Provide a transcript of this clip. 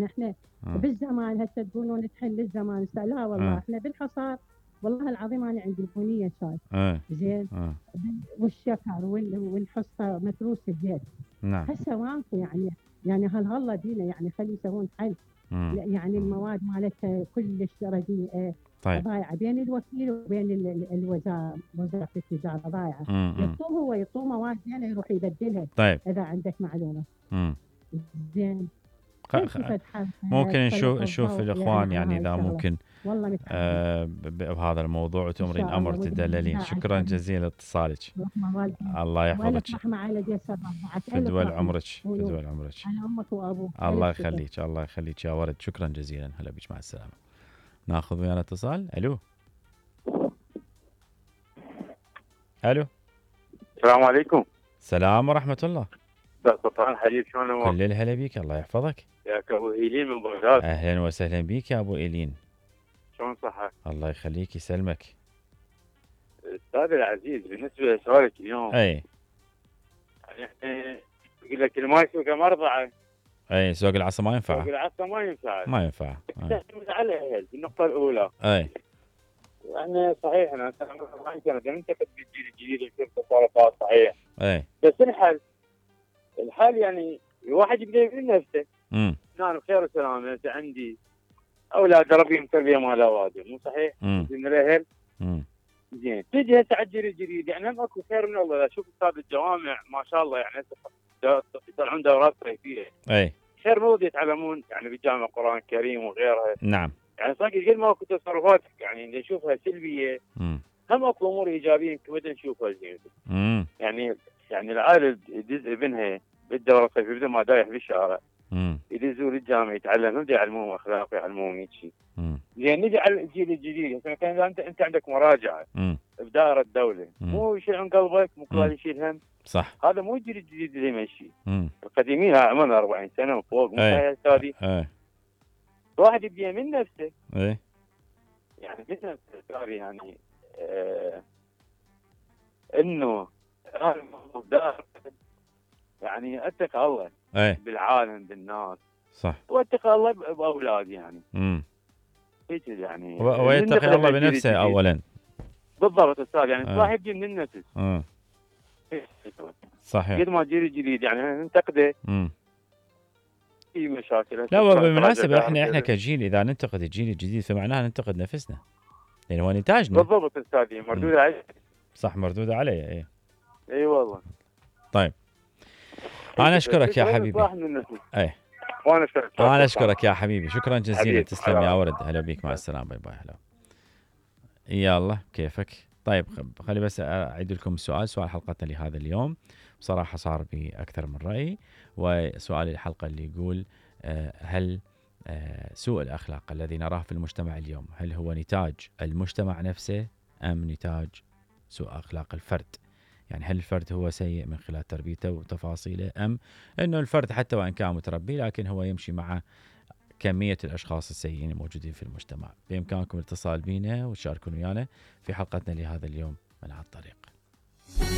احنا بالزمان هسه تقولون تحل الزمان لا والله احنا بالحصار. والله العظيم انا عندي البنيه شاي زين والشكر والحصه متروسه زين. نعم. هسه ماكو يعني هالله بينا يعني خلي يسوون حل. يعني المواد مالتها كلش رديئه. طيب. ضايعه بين الوكيل وبين وزاره التجاره ضايعه. يعطوه مواد زينه يروح يبدلها. طيب. اذا عندك معلومه. زين. ممكن نشوف الاخوان يعني اذا ممكن بهذا الموضوع وتمرين امر تدللين. شكرا جزيلا لاتصالك. الله يحفظك. فدوى عمرك فدوى عمرك. الله يخليك الله يخليك يا ورد. شكرا جزيلا. هلا بك مع السلامه. ناخذ ويانا اتصال. الو. الو. السلام عليكم. السلام ورحمه الله. سلطان حبيب شلون امورك؟ كل الهلا بيك الله يحفظك. ياك ابو ايلين من بغداد. اهلا وسهلا بيك يا ابو ايلين. شلون صحتك؟ الله يخليك يسلمك. استاذ العزيز بالنسبه لسؤالك اليوم. اي. يعني يقول لك اللي ما يسوق مرضعه. اي سوق العصا ما ينفع. سوق العصا ما ينفع. ما ينفع. تعتمد على الاهل النقطه الاولى. اي. يعني صحيح انا ما يمكن ننتقد بالجيل الجديد يصير تصرفات صحيح. اي. بس الحل يعني الواحد يبدا من نفسه. انا بخير وسلامه انت عندي اولاد اربيهم تربيه مال اوادم مو صحيح؟ زين الاهل. زين تجي هسه على الجيل الجديد يعني هم اكو خير من الله. اشوف استاذ الجوامع ما شاء الله يعني يطلعون دورات صيفيه. اي. خير مو يتعلمون يعني بالجامعه القران الكريم وغيرها. نعم. يعني صدق قد ما اكو تصرفات يعني اللي نشوفها سلبيه. هم اكو امور ايجابيه كمان نشوفها زين. يعني العائله يدز ابنها بالدوره الصيفيه بدل ما دايح بالشارع. يدزوا للجامعه يتعلم هم يعلموهم اخلاق يعلموهم هيك شيء. زين نجي على الجيل الجديد مثلا انت عندك مراجعه بدائره الدوله مو يشيل عن قلبك مو كل يشيل هم. صح. هذا مو الجيل الجديد اللي يمشي. القديمين عمرنا 40 سنه وفوق مو صحيح استاذي. الواحد يبدي من نفسه. اي. يعني من نفسه استاذي يعني انه هذا الموضوع يعني اتقى الله. بالعالم بالناس. صح. واتقى الله باولادي يعني. هيك يعني. ويتقي الله بنفسه اولا. بالضبط استاذ يعني الواحد يبدي من النفس. صحيح. قد ما الجيل الجديد يعني ننتقده. في مشاكل. لا بالمناسبه احنا كجيل اذا ننتقد الجيل الجديد فمعناها ننتقد نفسنا. لان هو نتاجنا. بالضبط استاذي مردود عليه. صح مردود عليه. اي والله. طيب. انا اشكرك يا حبيبي. اي. وانا اشكرك يا حبيبي. شكرا جزيلا. تسلم يا ورد. هلا بيك مع السلامه. باي باي. هلا. يلا كيفك. طيب خلي بس اعيد لكم سؤال حلقتنا لهذا اليوم. بصراحه صار بي اكثر من راي. وسؤال الحلقه اللي يقول هل سوء الاخلاق الذي نراه في المجتمع اليوم هل هو نتاج المجتمع نفسه ام نتاج سوء اخلاق الفرد؟ يعني هل الفرد هو سيء من خلال تربيته وتفاصيله ام انه الفرد حتى وان كان متربي لكن هو يمشي مع كمية الأشخاص السيئين الموجودين في المجتمع؟ بإمكانكم الاتصال بنا وتشاركون ويانا في حلقتنا لهذا اليوم من هالطريق.